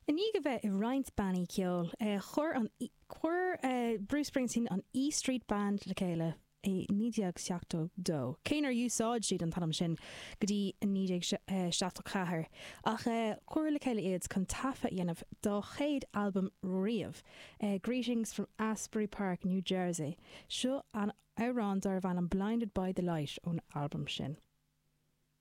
I ndiaidh a bheith i roinnt bannaí ceoil, chuir an chuir Bruce Springsteen an E Street Band le chéile i 1972, cé nár úsáid siad an t-ainm sin go dtí 1974, ach cuireadh le chéile iad chun taifead a dhéanamh dá chéad albam riamh, Greetings from Asbury Park, New Jersey. Seo an amhrán darbh ainm Blinded by the Light ón albam sin.